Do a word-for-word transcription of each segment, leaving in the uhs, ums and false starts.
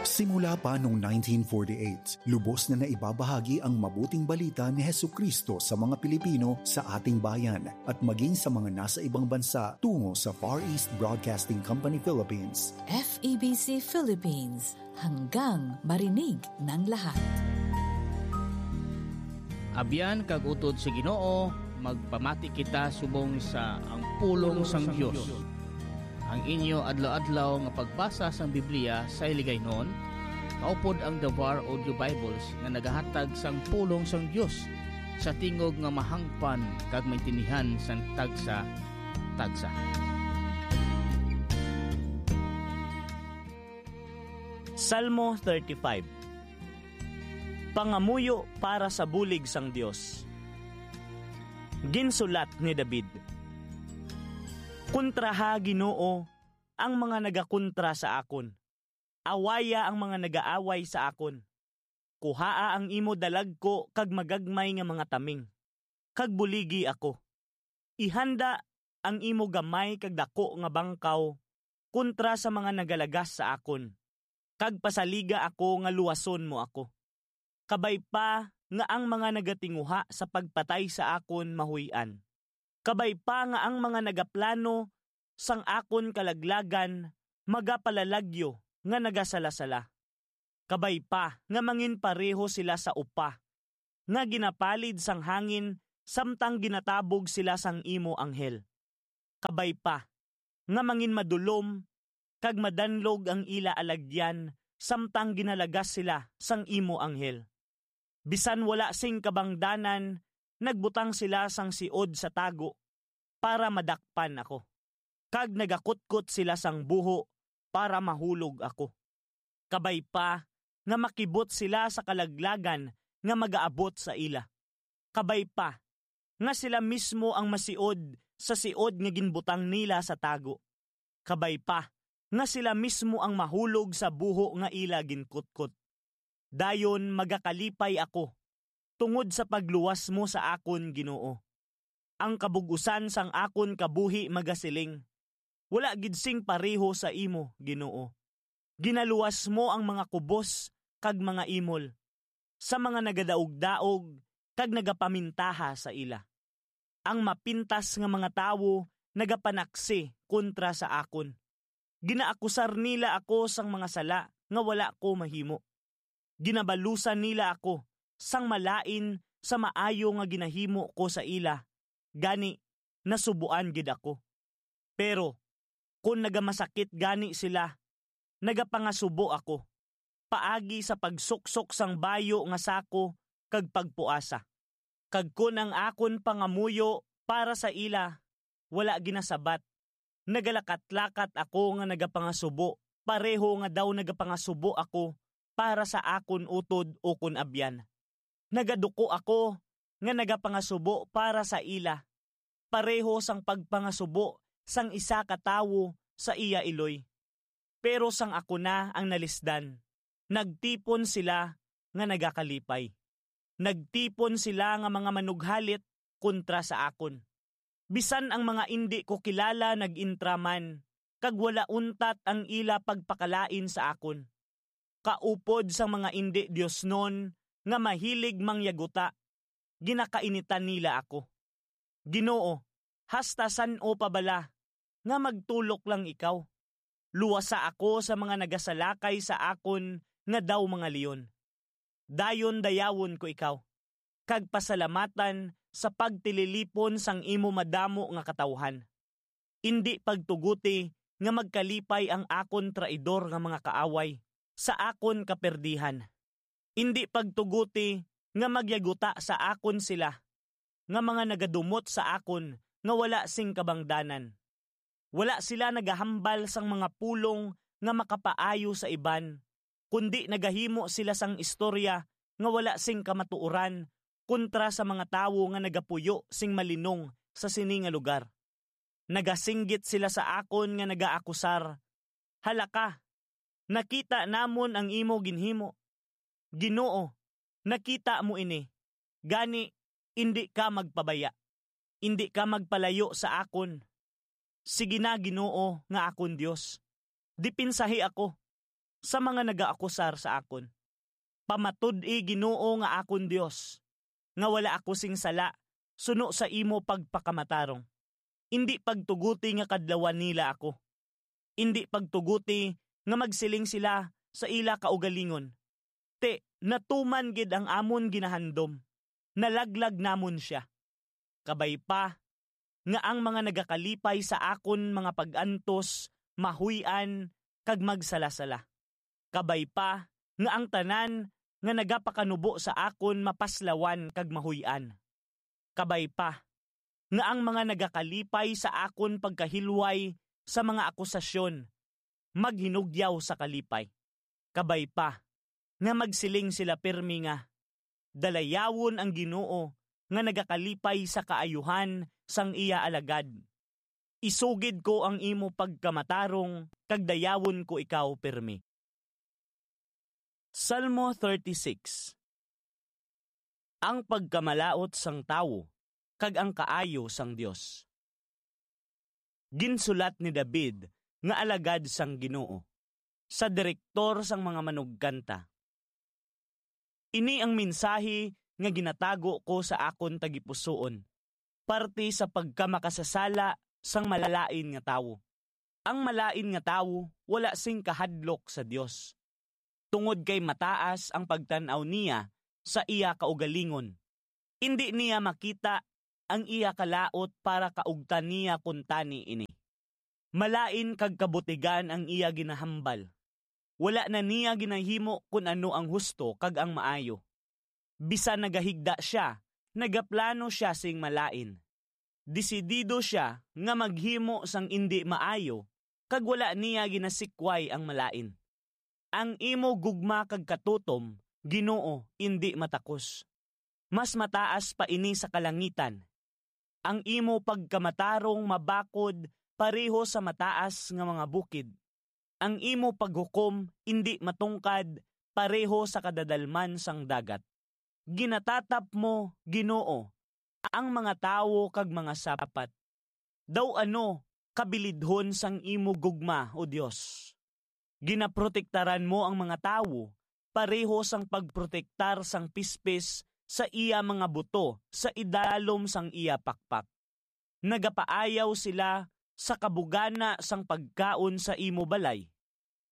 Simula pa noong nineteen forty-eight, lubos na naibabahagi ang mabuting balita ni Jesu-Cristo sa mga Pilipino sa ating bayan at maging sa mga nasa ibang bansa tungo sa Far East Broadcasting Company Philippines. F E B C Philippines, hanggang marinig ng lahat. Abyan kag utod sa Ginoo, magpamati kita subong sa ang pulong sang Dios. Ang inyo adlaw-adlaw nga pagbasa sang Biblia sa Hiligaynon, kaupod ang Davar Audio Bibles nga nagahatag sang pulong sang Dios sa tingog nga mahangpan kag maintindihan sang tagsa-tagsa. Salmo thirty-five. Pangamuyo para sa bulig sang Dios. Ginsulat ni David: Kontraha, Ginoo, ang mga nagakontra sa akon. Awaya ang mga nagaaway sa akon. Kuhaa ang imo dalagko kag magagmay nga mga taming, kag buligi ako. Ihanda ang imo gamay kag daku nga bangkaw kontra sa mga nagalagas sa akon, kag pasaliga ako nga luwason mo ako. Kabay pa nga ang mga nagatinguha sa pagpatay sa akon mahuy-an. Kabay pa nga ang mga nagaplano sang akon kalaglagan magapalalagyo nga nagasala-sala. Kabay pa nga mangin pareho sila sa upa nga ginapalid sang hangin samtang ginatabog sila sang imo anghel. Kabay pa nga mangin madulom kag madanlog ang ila alagyan samtang ginalagas sila sang imo anghel. Bisan wala sing kabangdanan, nagbutang sila sang siod sa tago para madakpan ako, kag nagakutkot sila sang buho para mahulog ako. Kabay pa nga makibot sila sa kalaglagan nga magaabot sa ila. Kabay pa nga sila mismo ang masiod sa siod nga ginbutang nila sa tago. Kabay pa nga sila mismo ang mahulog sa buho nga ila ginkutkot. Dayon magakalipay ako tungod sa pagluwas mo sa akon, Ginoo. Ang kabug-usan sang akon kabuhi magasiling, "Wala gid sing pareho sa imo, Ginoo." Ginaluwas mo ang mga kubos kag mga imol sa mga nagadaog-daog kag nagapamintaha sa ila. Ang mapintas nga mga tawo nagapanaksi kontra sa akon. Ginaakusar nila ako sang mga sala nga wala ko mahimo. Ginabalusan nila ako sang malain sa maayo nga ginahimo ko sa ila, gani nasubuan gid ako. Pero kon nagamasakit gani sila, nagapangasubo ako paagi sa pagsuksok sang bayo nga sako kag pagpuasa. Kag kon ang akon pangamuyo para sa ila wala ginasabat, nagalakat-lakat ako nga nagapangasubo, pareho nga daw nagapangasubo ako para sa akon utod ukon abyan. Nagaduko ako nga nagapangasubo para sa ila, pareho sang pagpangasubo sang isa ka tawo sa iya iloy. Pero sang ako na ang nalisdan, nagtipon sila nga nagakalipay. Nagtipon sila nga mga manughalit kontra sa akon. Bisan ang mga indi ko kilala nag-intraman, kag wala untat ang ila pagpakalain sa akon. Kaupod sang mga indi diosnon nga mahilig mangyaguta, ginakainitan nila ako. Ginoo, hasta san-o pa bala nga magtulok lang ikaw? Luwasa ako sa mga nagasalakay sa akon nga daw mga leon. Dayon dayawon ko ikaw, kag pasalamatan sa pagtililipon sang imo madamo nga katawuhan. Indi pagtuguti nga magkalipay ang akon traidor nga mga kaaway sa akon kaperdihan. Indi pagtuguti nga magyaguta sa akon sila nga mga nagadumot sa akon nga wala sing kabangdanan. Wala sila nagahambal sang mga pulong nga makapaayo sa iban, kundi nagahimo sila sang istorya nga wala sing kamatuoran kontra sa mga tawo nga nagapuyo sing malinong sa sini nga lugar. Nagasinggit sila sa akon nga nagaakusar, "Hala ka, nakita namon ang imo ginhimo. Ginoo, nakita mo ini, gani indi ka magpabaya. Indi ka magpalayo sa akon. Sige na, Ginoo nga akon Dios, dipinsahi ako. sa mga nagaakusar sa akon. Pamatud-i, Ginoo nga akon Dios, nga wala ako sing sala suno sa imo pagpakamatarong. Indi pagtuguti nga kadlawan nila ako. Indi pagtuguti nga magsiling sila sa ila kaugalingon, "Ti, natuman gid ang amon ginahandom, nalaglag namon sia." Kabay pa nga ang mga nagakalipay sa akon mga pag-antos mahuy-an kag magsalasala. Kabay pa nga ang tanan nga nagapakanubo sa akon mapaslawan kag mahuy-an. Kabay pa nga ang mga nagakalipay sa akon pagkahilway sa mga akusasyon maghinugyaw sa kalipay. Kabay pa nga magsiling sila pirmi nga, "Dalayawon ang Ginoo nga nagakalipay sa kaayuhan sang iya alagad. Isugid ko ang imo pagkamatarong kag dayawon ko ikaw pirmi." Salmo thirty-six. Ang pagkamalaut sang tawo kag ang kaayo sang Dios. Ginsulat ni David nga alagad sang Ginoo, sa direktor sang mga manugkanta. Ini ang mensahe nga ginatago ko sa akon tagipusoon, parte sa pagkamakasasala sang malain nga tawo. Ang malain nga tawo wala sing kahadlok sa Dios, tungod kay mataas ang pagtan-aw niya sa iya kaugalingon. Indi niya makita ang iya kalaut para kaugtan niya kuntani ini. Malain kag kabutigan ang iya ginahambal. Wala na niya ginahimo kun ano ang husto kag ang maayo. Bisan nagahigda sia, nagaplano sia sing malain. Desidido sia nga maghimo sang indi maayo, kag wala niya ginasikway ang malain. Ang imo gugma kag katutom, Ginoo, indi matakos. Mas mataas pa ini sa kalangitan. Ang imo pagkamatarong mabakod pareho sa mataas nga mga bukid. Ang imo paghukom indi matungkad pareho sa kadadalman sang dagat. Ginatatap mo, Ginoo, ang mga tawo kag mga sapat. Daw ano kabilidhon sang imo gugma, O Dios! Ginaprotektaran mo ang mga tawo pareho sang pagprotektar sang pispis sa iya mga buto sa idalom sang iya pakpak. Nagapaayaw sila sa kabugana sang pagkaon sa imo balay.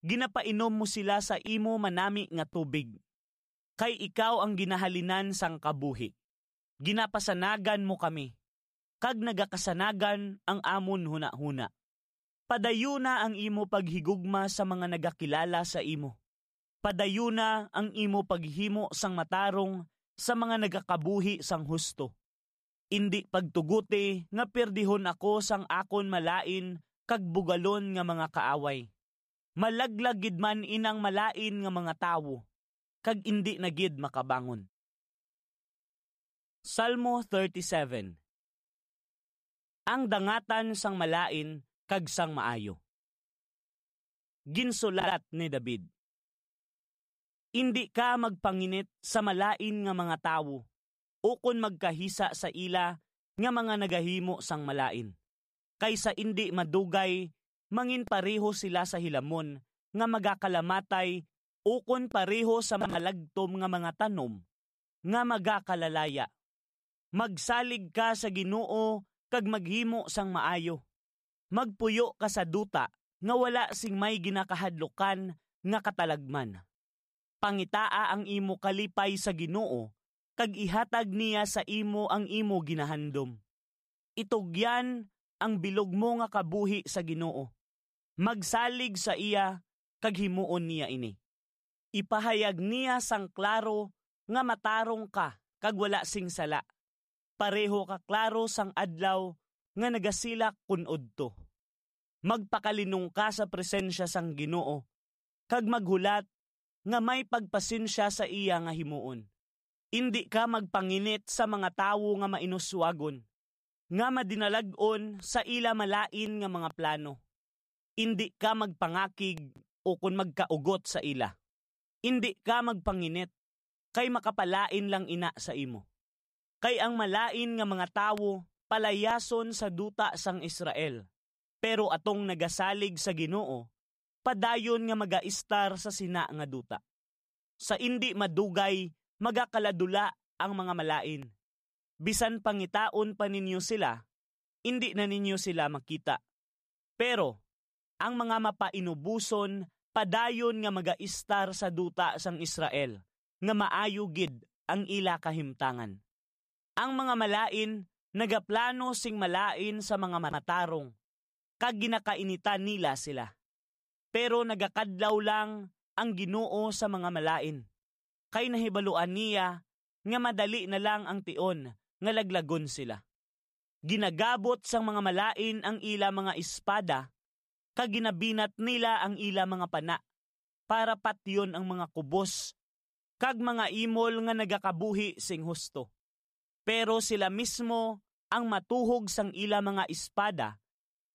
Ginapainom mo sila sa imo manami nga tubig, kay ikaw ang ginahalinan sang kabuhi. Ginapasanagan mo kami, kag nagakasanagan ang amon hunahuna. Padayuna ang imo paghigugma sa mga nagakilala sa imo. Padayuna ang imo paghimo sang matarong sa mga nagakabuhi sang husto. Indi pagtuguti nga pirdihon ako sang akon malain kag bugalon nga mga kaaway. Malaglag gid man inang malain nga mga tawo, kag indi na gid makabangon. Salmo thirty-seven. Ang dangatan sang malain kag sang maayo. Ginsulat ni David, "Indi ka magpanginit sa malain nga mga tawo, ukon magkahisa sa ila nga mga nagahimo sang malain, kay sa indi madugay manginpareho sila sa hilamon nga magakalamatay, ukon pareho sa mga lagtom nga mga tanom nga magakalalaya. Magsalig ka sa Ginoo kag maghimo sang maayo. Magpuyo ka sa duta nga wala sing may ginakahadlukan nga katalagman. Pangitaa ang imo kalipay sa Ginoo, kag ihatag niya sa imo ang imo ginahandom. Itugyan ang bilog mo nga kabuhi sa Ginoo. Magsalig sa iya, kag himuon niya ini. Ipahayag niya sang klaro nga matarong ka kag wala sing sala, pareho ka klaro sang adlaw nga nagasilak kon udto. Magpakalinong ka sa presensya sang Ginoo, kag maghulat nga may pagpasensya sa iya nga himuon. Indi ka magpanginit sa mga tawo nga mainuswagon, nga madinalag-on sa ila malain nga mga plano. Indi ka magpangakig ukon magkaugot sa ila. Indi ka magpanginit, kay makapalain lang ina sa imo. Kay ang malain nga mga tawo palayason sa duta sang Israel, pero atong nagasalig sa Ginoo, padayon nga magaistar sa sina nga duta. Sa indi madugay, magakaladula ang mga malain. Bisan pangitaon pa ninyo sila, indi na ninyo sila makita. Pero ang mga mapainuboson padayon nga magaistar sa duta sang Israel, nga maayo gid ang ila kahimtangan. Ang mga malain nagaplano sing malain sa mga matarong, kag ginakainitan nila sila. Pero nagakadlaw lang ang Ginoo sa mga malain, kay nahibaluan niya nga madali na lang ang tion nga laglagon sila. Ginagabot sang mga malain ang ila mga espada, kag ginabinat nila ang ila mga pana, para patyon ang mga kubos kag mga imol nga nagakabuhi sing husto. Pero sila mismo ang matuhog sang ila mga espada,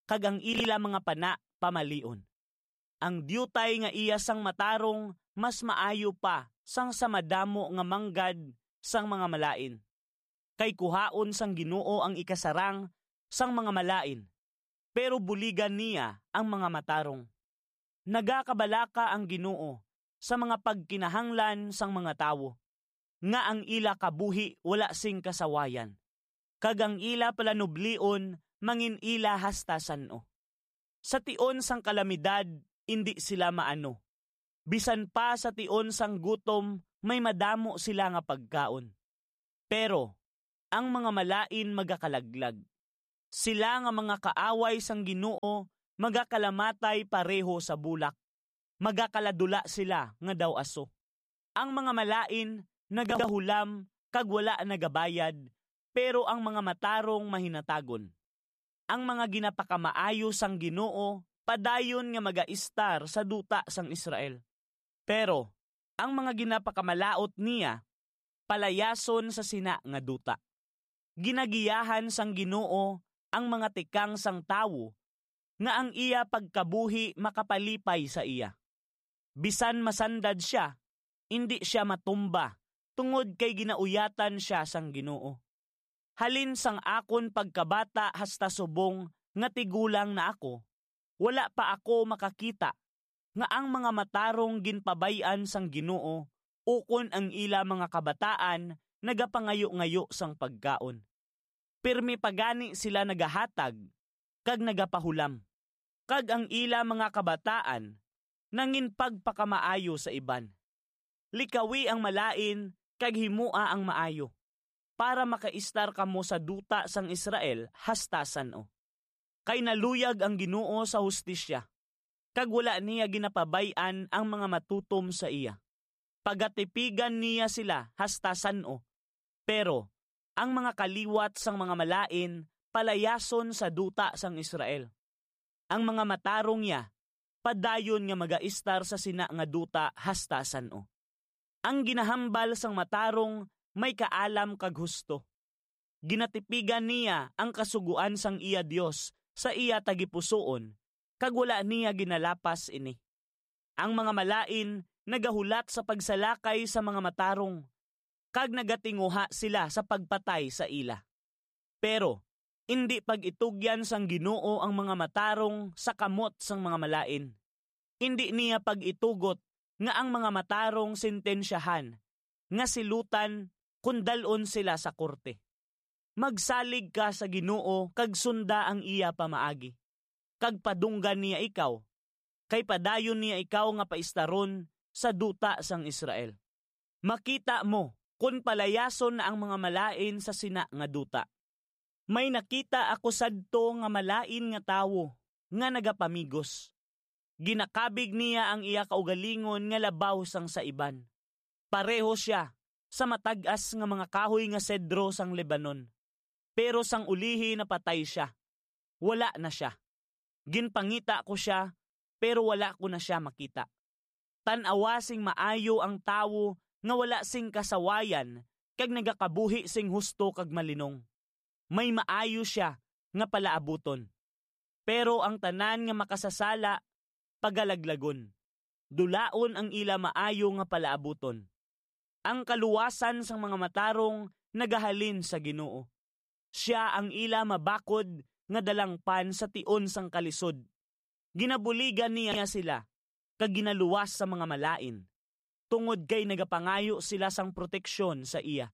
kag ang ila mga pana pamalion. Ang diutay nga iya sang matarong mas maayo pa sang sa madamo nga manggad sang mga malain, kay kuhaon sang Ginoo ang ikasarang sang mga malain, pero buligan niya ang mga matarong. Nagakabalaka ang Ginoo sa mga pagkinahanglan sang mga tawo, nga ang ila kabuhi wala sing kasawayan, kag ang ila palanublion mangin-ila hasta san-o. Sa tion sang kalamidad, indi sila maano. Bisan pa sa tion sang gutom, may madamo sila nga pagkaon. Pero ang mga malain magakalaglag. Sila nga mga kaaway sang Ginoo magakalamatay pareho sa bulak. Magakaladula sila nga daw aso. Ang mga malain nagahulam kag wala nagabayad, pero ang mga matarong mahinatagon. Ang mga ginapakamaayo sang Ginoo padayon nga magaistar sa duta sang Israel. Pero ang mga ginapakamalaut niya palayason sa sina nga duta. Ginagiyahan sang Ginoo ang mga tikang sang tawo, nga ang iya pagkabuhi makapalipay sa iya. Bisan masandad sia, indi sia matumba tungod kay ginauyatan sia sang Ginoo. Halin sang akon pagkabata hasta subong nga tigulang na ako, wala pa ako makakita nga ang mga matarong ginpabay-an sang Ginoo ukon ang ila mga kabataan nagapangayo-ngayo sang pagkaon. Pirme pa gani sila nagahatag kag nagapahulam, kag ang ila mga kabataan nangin pagpakamaayo sa iban. Likawi ang malain kag himoa ang maayo, para makaistar kamo sa duta sang Israel hasta san-o. Kay naluyag ang Ginoo sa hustisya, kag wala niya ginapabay-an ang mga matutom sa iya. Pagatipigan niya sila hasta san-o, pero ang mga kaliwat sang mga malain palayason sa duta sang Israel. Ang mga matarong niya padayon nga magaistar sa sina nga duta hasta san-o. Ang ginahambal sang matarong may kaalam kag husto. Ginatipigan niya ang kasugoan sang iya Dios sa iya tagipusoon, kag wala niya ginalapas ini. Ang mga malain nagahulat sa pagsalakay sa mga matarong, kag nagatinguha sila sa pagpatay sa ila. Pero indi pag-itugyan sang Ginoo ang mga matarong sa kamot sang mga malain. Indi niya pag-itugot nga ang mga matarong sentensyahan nga silutan kon dal-on sila sa korte. Magsalig ka sa Ginoo kag sunda ang iya pamaagi, kag padunggan niya ikaw, kay padayon niya ikaw nga paistaron sa duta sang Israel. Makita mo kon palayason na ang mga malain sa sina nga duta. May nakita ako sadto nga malain nga tawo nga nagapamigos. Ginakabig niya ang iya kaugalingon nga labaw sang sa iban. Pareho sia sa matag-as nga mga kahoy nga sedro sang Lebanon. Pero sang ulihi napatay sia. Wala na sia. Ginpangita ko sia, pero wala ko na sia makita. Tan-awa sing maayo ang tawo nga wala sing kasawayan kag nagakabuhi sing husto kag malinong. May maayo sia nga palaabuton. Pero ang tanan nga makasasala pagalaglagon. Dulaon ang ila maayo nga palaabuton. Ang kaluwasan sang mga matarong nagahalin sa Ginoo. Sia ang ila mabakod nga dalangpan sa tion sang kalisod. Ginabuligan niya sila kag ginaluwas sa mga malain, tungod kay nagapangayo sila sang proteksyon sa iya.